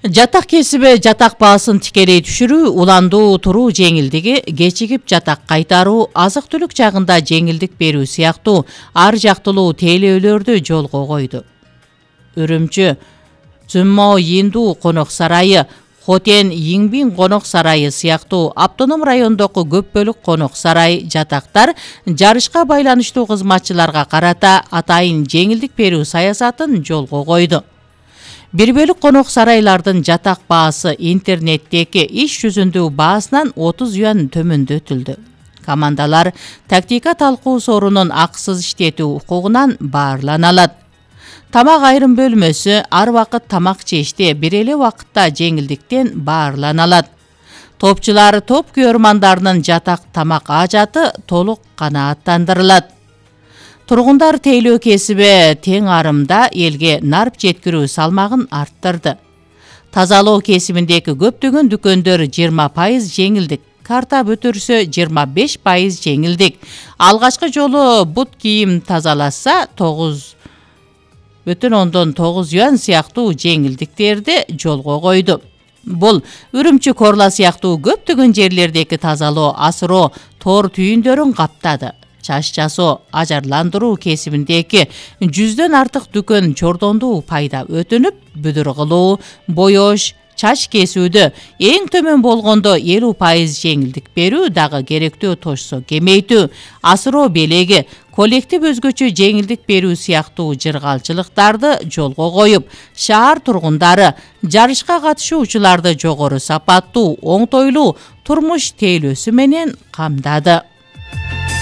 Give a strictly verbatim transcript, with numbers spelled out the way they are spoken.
Жатак кесиби жатак баасын тикелей түшүрүү, уландуу туруу жеңилдиги, кечигип жатак кайтаруу, азык-түлүк жагында жеңилдик берүү сыяктуу ар жактылуу тейлөөлөрдү жолго койду. Үрүмчү Цзюмо Йинду конок сарайы, Хотен Йиңбин конок сарайы сыяктуу автоном райондогу көп бөлүк конок сарай жатактар жарышка байланыштуу кызматчыларга карата атайын жеңилдик берүү саясатын жолго койду. Бир бөлүк конок сарайлардын жатак баасы интернеттеги иш жүзүндүү баасынан отуз юан төмөндөтүлдү. Командалар тактика талкуу сорунун акысыз иштетүү укугунан баарлана алат. Тамак айрым бөлмөсү ар вакыт тамак жеште бир эле убакытта жеңилдиктен баарлана алат. Топчулар топ күйөрмандарынын жатак тамак ажаты толук канааттандырылат. Тургундар тейлөө кесиби тең арымда элге нарп жеткирүү салмагын арттырды. Тазалоо кесибиндеги көптөгөн дүкөндөр жыйырма пайыз жеңилдик, картап өтүрсө жыйырма беш пайыз жеңилдик. Алгачкы жолу бут кийим тазаласа тогуз бүтүн ондон тогуз юан сыяктуу жеңилдиктерди жолго койду. Бул Үрүмчү, Корла сыяктуу көптөгөн жерлердеги тазалоо, асыроо, тор түйүндөрүн каптады. Чач жасоо, ажарландыруу кесибиндеги жүздөн артык дүкөн чордондуу пайда өтүнүп, бүдүр кылуу, боёш, чач кесүүдө эң төмөн болгондо элүү пайыз жеңилдик берүү дагы керектөө тошсо кемейтүү, асыроо белеги, коллектив өзгөчө жеңилдик берүү сыяктуу жыргалчылыктарды жолго коюп, шаар тургундары жарышка катышуучуларды жогору сапаттуу, оңтойлуу турмуш тейлөөсү менен камдады.